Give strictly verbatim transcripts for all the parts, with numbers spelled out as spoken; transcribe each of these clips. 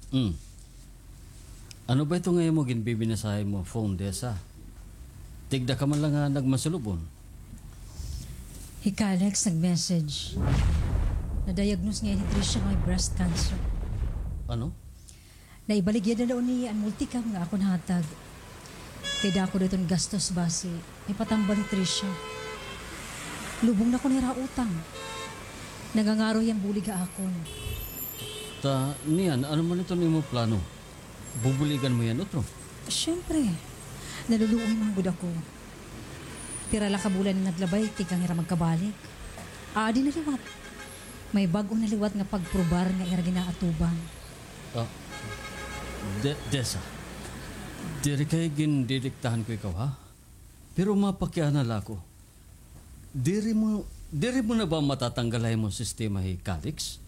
Hmm. Ano ba ito nga imo ginbibinasa ha imo phone, Desa? Tigda ka man la nga nagmasulub-on. Hi Kalex nag-message. Na-diagnose ngay-an hi Trisha nga may breast cancer. Ano? Naibaligya na la ini an multicam nga akon hatag. Kay dako daw iton gastos basi may patambal hi Trisha. Lubong na ko hira utang. Nangangaro hiya hin bulig ha akon. Ta, niyan, ano man iton imo plano? Bubuligan mo hiya hin utro? Siyempre. Naluluoy man gud ako. Pira la ka bulan an naglabay tikang hira magkabalik. Aadi na liwat. May bag-o na liwat nga pagprobar nga ira gin-aatubang. Ah, De-, Desa, diri kay gindidiktahan ko ikaw, ha? Pero mapakiana la ako. Diri mo, diri mo na ba matatanggal ha imo sistema hi Calix?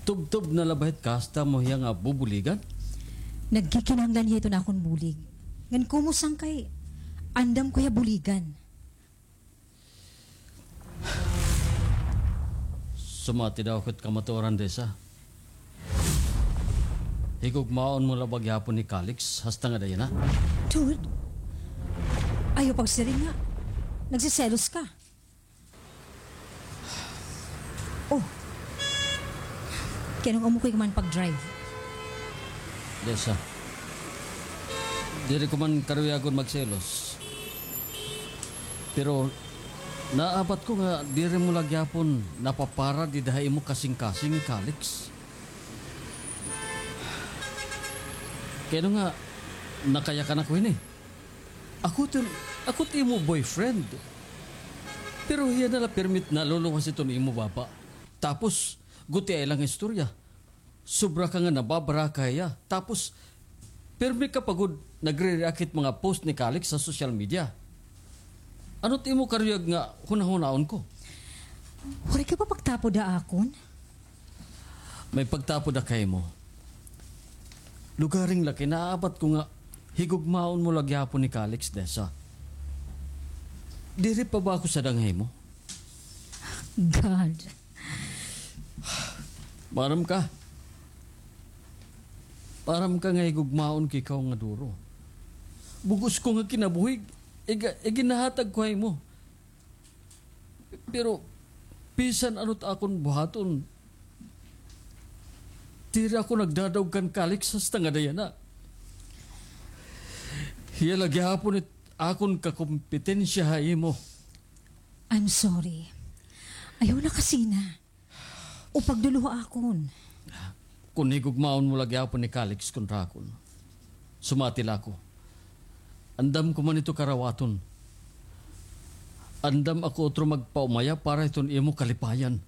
Tubtob na la ba it kasta mo hiya nga bubuligan? Nagkikinahanglan hiya hiton akon bulig. Ngan kumo san kay andam ko hiya buligan. Sumati daw ako hit kamatuoran, Desa. Higugmaon mo la ba gihapon hi Calix, hasta ngada yana? Dude, ayaw pagsiring nga nagseselos ka. Oh, kay ano nga amo ko man pag-drive? Desa, diri ko man karuyagon magselos. Pero naabat ko nga diri mo la gihapon napapara dida ha imo kasingkasing hi Calix. Kay ano nga, nakayakan ako hini. Ako it, ako it imo boyfriend. Pero hiya na la pirmi it naluluwas hiton imo baba. Tapos, gutiay la nga istorya. Sobra ka nga nababaraka ha iya. Tapos, pirmi ka pa gud nagre-react hit mga post ni Calix ha social media. Ano it imo karuyag nga hunahunaon ko? Waray ka pa pagtapod ha akon? May pagtapod ako ha imo. Lugaring la kay naabat ko nga higugmaon mo la gihapon hi Calix, Desa. Diri pa ba ako sadang ha imo? God. Maaram ka. Maaram ka nga higugmaon ko ikaw nga duro. Bug-os ko nga kinabuhi, iga-, iginahatag ko ha imo. Pero, bisan ano it akon buhaton, diri ako nagdadaog kan Calix hasta ngada yana. Hiya la gihapon it akon kakompetensya ha imo. I'm sorry. Ayaw na kasi na. O pagduluha akon. Kon higugmaon mo la gihapon hi Calix kontra akon, sumati la ako. Andam ko man ito karawaton. Andam ako utro magpaumaya para hiton imo kalipayan.